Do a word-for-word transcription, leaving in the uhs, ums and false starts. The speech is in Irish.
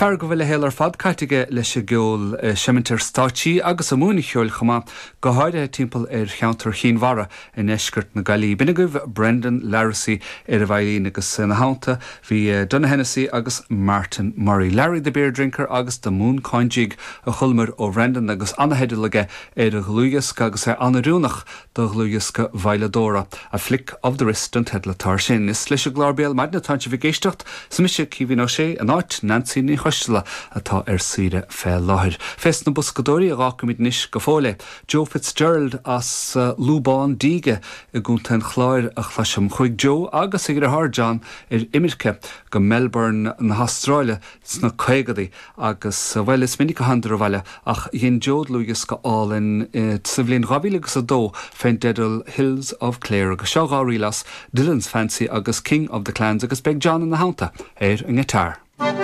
Fear go bhfuil a shaol ar fad caite aige leis an gceol ag seimint ar stáitsí agus ag múineadh ceoil chomh maith go háirithe timpeall ar cheantar Chinn Mhara i ndeisceart na Gaillimhe. B'in agaibh Brendan Larrissy ar an veidhlín agus ina theannta bhí Donagh Hennessy agus Martin Murray. Larry the Beer Drinker agus the Mooncoin Jig a chualamar ó Brendan agus an-theideal aige ar a dhlúthdhiosca agus é an-oiriúnach do dhlúthdhiosca veidhleadóra a flick of the wrist an teideal atá sin. Is leis an gclár Béal Maidine atá sibh ag éisteacht is mise Caoimhín Ó Sé in áit Nancy Ní Choisteala atá ar saoire fé láthair. Fés na boscadóirí a dh'fhágfaimid anois go fóill é. Joe Fitzgerald as uh, Lúbán Díge i gContae an Chláir a chloisim chuaigh Joe agus a dheartháir John ar imirce go Melbourne na hAstráile sna caogadaí agus uh, bhuel is minic a thánadar abhaile ach dhein Joe dlúthdhiosca álainn uh, sa bhliain dhá mhíle agus a dó fén dteideal Hills of Clare agus seo dhá ríl as Dylan's Fancy agus King of the Clans agus beidh John ina theannta ar an ngiotár.